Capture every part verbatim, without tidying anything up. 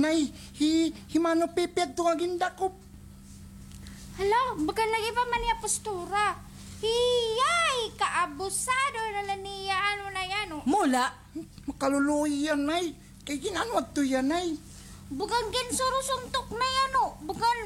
Ay, hi, hi Mano Pepe adto nga gindakop. Hala, baga lagi pa man niya postura. Hiyay, kaabusado na la niya, ano na yan, oh. Mula, makaluluoy yan, ay. Kay gin-ano adto yan, ay. Bagan ginsurusuntok na yan, oh. Bagan,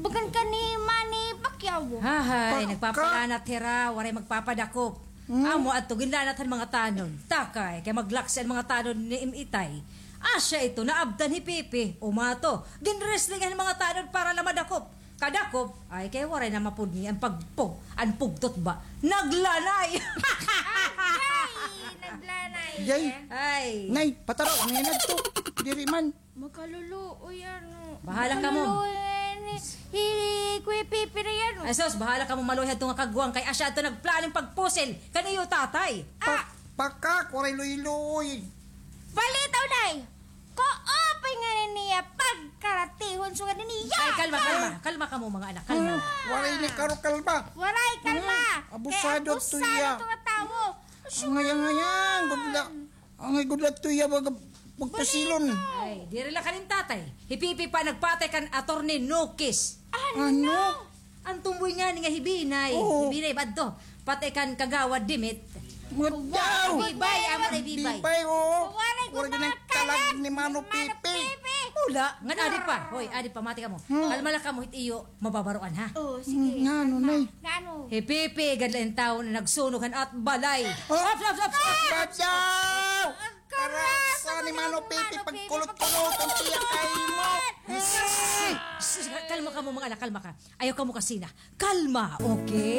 bagan ka ni Manny Pacquiao. Hahay, nagpapalanat hira, waray magpapadakop. Amo adto ginlanat han mga tanod. Takay, kay maglaksi an mga tanod ni Im Itay. Asya ito, naabtan hi Pipi. Umato, ginwrestling han mga tanod para la madakop. Kadakop, ay kay waray na mapudngi an pagpug, an pugtot ba? Naglanay! Ay, naglanay. Yay. Ay. Nay, pataro, ano yan adto? Diri man. Makaluluoy, ano. Bahala kamo. Makaluluoy, ano, hi Kuya Pipi na yan, oh. Ay, sus, bahala kamo maluoy hadto nga kagwang kay asya adto nagplano hin pagpusil kan iyo tatay. Ah! Pakak, waray luoy-luoy. Balitaw, Nay. Kaupay ngani niya pagkaratihon sugad niya. Ay, kalma, kalma. Kalma kamo, mga anak, kalma. Waray ni karo kalma. Waray kalma. Abusado adto iya. Kay abusado adto nga tawo. Ang ngayang-ngayang, gudla. Angay gud la tuya baga pagpasilon. Ay, diri la kan im tatay. Hi Pipi pa nagpatay kan Attorney Nokis. Ano? An tumboy ngani nga hi Binay. Oo. Hi Binay ba adto? Patay kan Kagawad Dimit. Madaw! Bibay, amo na Bibay. Bibay, oo. Waray ko mga kalag ni Mano Pipi. Mula, ngan adi pa. Hoy, adi pa, mati kamo. Kalma la kamo, hit iyo mababaroan, ha? Oo, sige. Ngano, Nay? Ngano? Hi Pipi, gad la in tawo nga nagsunog han at balay. Ops, ops, ops, ops. Badaw! Karasa ni Mano Pipi, pagkulot-kulot an tiyak kay mo. Sus, sus, kalma kamo, mga anak, kalma ka. Ayaw kamo kasina. Kalma, okay?